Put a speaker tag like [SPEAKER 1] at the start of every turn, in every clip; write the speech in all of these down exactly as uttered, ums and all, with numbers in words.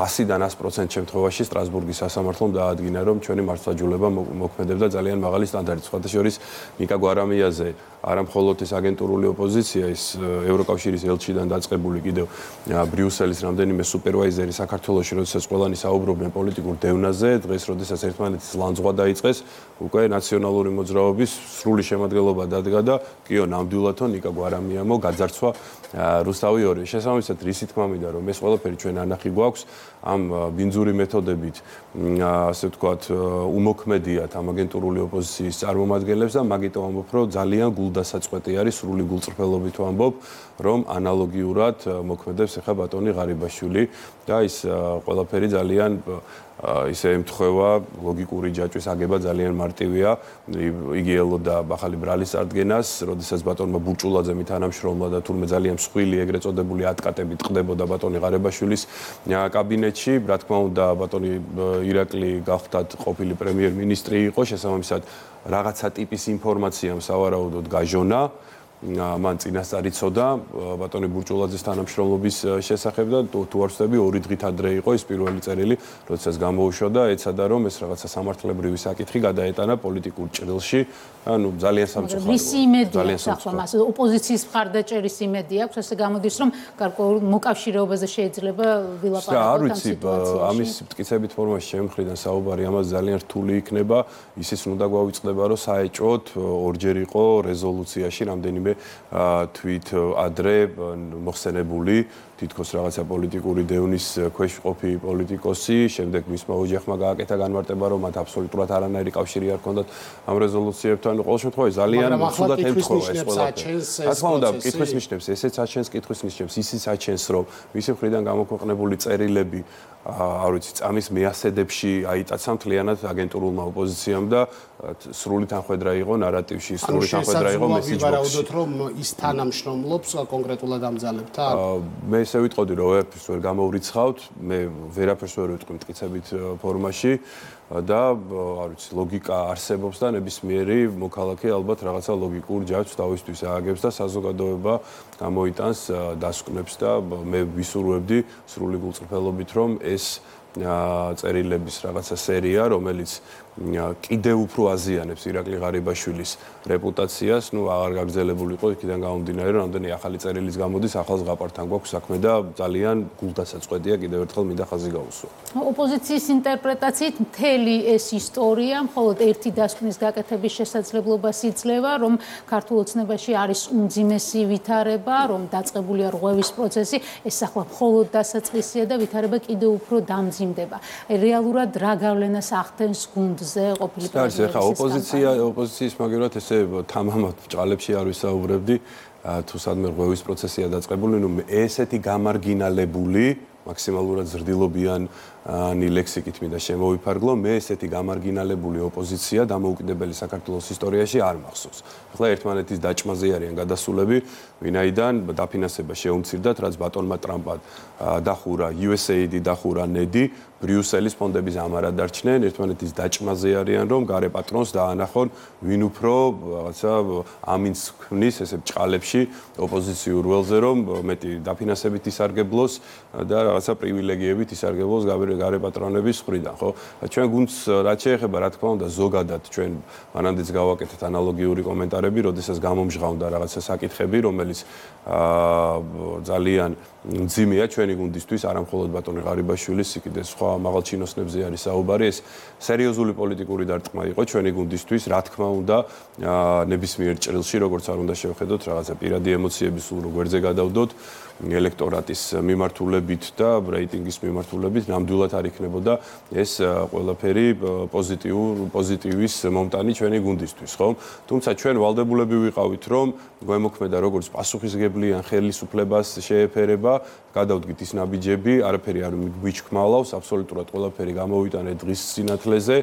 [SPEAKER 1] ასიდან ას პროცენტ შემთხვევაში სტრასბურგის სასამართლომ დაადგინა, რომ ჩვენი მართლმსაჯულება მოქმედებდა ძალიან მაღალი სტანდარტით. სხვათა შორის ნიკა გვარამიაზე არა მხოლოდ ეს აგენტურული ოპოზიცია, ის ევროკავშირის ელჩიდან დაწყებული კიდევ ბრიუსელის რამდენიმე სუპერვაიზერი საქართველოში, როდესაც ყველანი საუბრობდნენ პოლიტიკურ დევნაზე, დღეს როდესაც ერთმანეთის ლანძღვა დაიწყეს, უკვე ნაციონალური მოძრაობის სრული შემადგენლობა დადგა და კიო ნამდვილადო ნიკა გვარამიამო გაძარცვა რუსთავი ორი. შესაბამისად, რისი თქმა მინდა, რომ ეს ყველაფერი ჩვენ ანახი გვაქვს ამ ბინძური მეთოდებით, ასე ვთქვათ, უმოქმედიათ ამ აგენტურული ოპოზიციის წარმომადგენლებს და მაგიტომ ამბობ, რომ ძალიან გულდასაწყვეტი არის, სრული გულწრფელობით ვამბობ, რომ ანალოგიურად მოქმედებს ახლა ბატონი ღარიბაშვილი და ის ყველაფერი ძალიან ისე ემთხვევა ლოგიკური ჯაჭვის აგება ძალიან მარტივია. იგი ელოდა ახალი ბრალის წარდგენას, როდესაც ბატონმა ბურჭულაძემ თანამშრომლა და თურმე ძალიან მსხვილი ეგრეთ წოდებული ატკატები ტყდებოდა ბატონი ღარიბაშვილის კაბინეტში. რა თქმა უნდა, ბატონი ირაკლი გახდათ ყოფილი პრემიერ-მინისტრი იყო, შესაბამისად რაღაცა ტიპის ინფორმაციამ სავარაუდოდ გაჟონა. მან წინასწარ იცოდა ბატონი ბურჭულაძის თანამშრომლობის შესახებ და თუ არ ვცდები ორი დღით ადრე იყო ის პირველი წერილი, როდესაც გამოუშვა და ეცადა რომ ეს რაღაცა სამართლებრივი საკითხი გადაეტანა პოლიტიკურ ჭრილში. ანუ ძალიან სამწუხაროა.
[SPEAKER 2] ისი იმედია ახლა მას ოპოზიციის მხარდაჭერის იმედი აქვს, ესე გამოდის რომ გარკვეულ მოკავშირეობაზე შეიძლება ვილაპარაკოთ ამ სიტუაციაში.
[SPEAKER 1] ამის მტკიცებით ფორმაში შემხრიდან საუბარი ამას ძალიან რთული იქნება. ისიც უნდა გვავიწყდება რომ საეჭვოდ ორჯერ იყო რეზოლუციაში რამდენიმე თვით ადრე მოხსენებული თითქოს რაღაცა პოლიტიკური დევნის ქვეშ ყოფი პოლიტიკოსი, შემდეგ მისმა ოჯახმა გააკეთა განმარტება, რომ მათ აბსოლუტურად არანაირი კავშირი არ ჰქონდათ ამ რეზოლუციებთან. ყოველ შემთხვევაში ძალიან ცუდად ემთხვევა ეს ყველაფერი. რა თქმა უნდა, კითხვის ნიშნებს, ესეც აჩენს კითხვის ნიშნებს, ისიც აჩენს, რომ მისი მხრიდან გამოქვეყნებული წერილები არ ვიცი, წამის მეასედებში აიტაცა მთლიანად აგენტურულმა ოპოზიციამ და სრული თანხwebdriver იყო ნარატივში, სრული თანხwebdriver იყო message box-ში.
[SPEAKER 3] ვარაუდოთ, რომ ის თანამშრომლობს კონკრეტულად ამ ძალებთან.
[SPEAKER 1] მე ესე ვიტყოდი, რომ ვერაფერს ვერ გამოვრიცხავთ, მე ვერაფერს ვერ ვიტყვი მტკიცებით ფორმაში და არ ვიცი, ლოგიკა არსებობს და ნებისმიერი მოქალაქე ალბათ რაღაცა ლოგიკურ ჯაჭვს თავისთვის ააგებს და საზოგადოება გამოიტანს დასკვნებს და მე ვისურვებდი სრული გულწრფელობით, რომ ეს წერილების რაღაცა სერია, რომელიც კიდევ უფრო აზიანებს ირაკლი ღარიბაშვილის რეპუტაციას, ну აღარ გაგრძელებული იყო იქიდან გამომდინარე, რომ რამდენი ახალი წერილის გამოდის, ახალ ზღაპართან გვაქვს საქმე და ძალიან გულდასაწყვეტია კიდევ ერთხელ მინდა ხაზი გაუსვა.
[SPEAKER 2] ოპოზიციის ინტერპრეტაციით მთელი ეს ისტორია მხოლოდ ერთი დასკვნის გაკეთების შესაძლებლობას იძლევა, რომ ქართულ ოცნებაში არის უმძიმესი ვითარება, რომ დაწყებულია რღვევის პროცესი, ეს ახლა მხოლოდ დასაწყისია და ვითარება კიდევ უფრო დამძიმდება. რეალურად რა გავლენას ახდენს გუნდ ზე ყოფილი
[SPEAKER 1] პრეზიდენტის ხა ოპოზიცია ოპოზიციის მაგერად ესე თამამად ჭალებში არ ვისაუბრებდი თუ სადმე რღვევის პროცესია დაწყებული ნუ ესეთი გამარგინალებული მაქსიმალურად ზრდილობიანი ლექსიკით მინდა შემოვიფარგლო მე ესეთი გამარგინალებული ოპოზიცია დამოუკიდებელი საქართველოს ისტორიაში არ მახსოვს. ახლა ერთმანეთის დაჭმაზე არიან გადასულები, ვინაიდან დაფინანსება შეუმცირდათ, რაც ბატონმა ტრამპმა დახურა იუ ეს ეი აი-დი დახურა ნედი, ბრიუსელის ფონდების ამარა დარჩნენ, ერთმანეთის დაჭმაზე არიან, რომ გარე პატრონს დაანახონ, ვინ უფრო რაღაცა ამინს ქმნის ესე ბჭყალებში ოპოზიციურ ველზე, რომ მეტი დაფინანსებით ისარგებლოს და რაღაცა პრივილეგიებით ისარგებლოს გარე პატრონების მხრიდან, ხო? ჩვენ გუნდს რაც შეეხება, რა თქმა უნდა, ზოგადად ჩვენ მანამდეც გავაკეთეთ ანალოგიური კომენტარები, როდესაც გამომჟღავნდა რაღაცა საკითხები, რომელიც ძალიან მძიმეა ჩვენი გუნდისთვის, არა მხოლოდ ბატონი ღარიბაშვილის, კიდე სხვა მაღალ ჩინოსნებზე არის საუბარი, ეს სერიოზული პოლიტიკური დარტყმა იყო ჩვენი გუნდისთვის, რა თქმა უნდა, ნებისმიერ ჭრილში, როგორც არ უნდა შევხედოთ, რაღაცა პირადი ემოციები სულ როგერზე გადავდოთ, ელექტორატის მიმართულებით და რეიტინგის მიმართულებით ნამდვილად არ იქნებოდა ეს ყველაფერი პოზიტიურ პოზიტივის მომტანი ჩვენი გუნდისთვის, ხო? თუმცა ჩვენ ვალდებულები ვიყავით, რომ გვემოქმედა როგორც პასუხისგებლიან ხელისუფლებას შეეფერება, გადავდგით ის ნაბიჯები, არაფერი არ გვიჩქმალავს, აბსოლუტურად ყველაფერი გამოვიტანეთ დღის სინათლეზე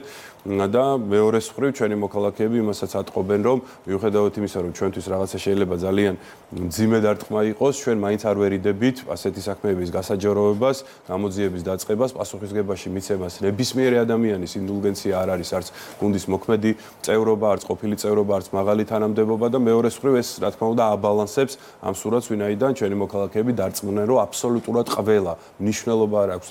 [SPEAKER 1] და მეორეს მხრივ ჩვენი მოქალაქეები იმასაც ატყობენ, რომ მიუხედავად იმისა, რომ ჩვენთვის რაღაცა შეიძლება ძალიან მძიმე დარტყმა იყოს, ჩვენ მაინც არ ვერიდებით ასეთი საქმეების გასაჯაროებას, გამოძიების დაწყებას, პასუხისგებაში მიცემას. ნებისმიერი ადამიანის ინდულგენცია არ არის არც გუნდის მოქმედი წევრობა, არც ყოფილი წევრობა, არც მაღალი თანამდებობა და მეორეს მხრივ ეს რა თქმა უნდა აბალანსებს ამ სურათს, ვინაიდან ჩვენი მოქალაქეები დარწმუნდნენ, რომ აბსოლუტურად ყველა მნიშვნელობა არ აქვს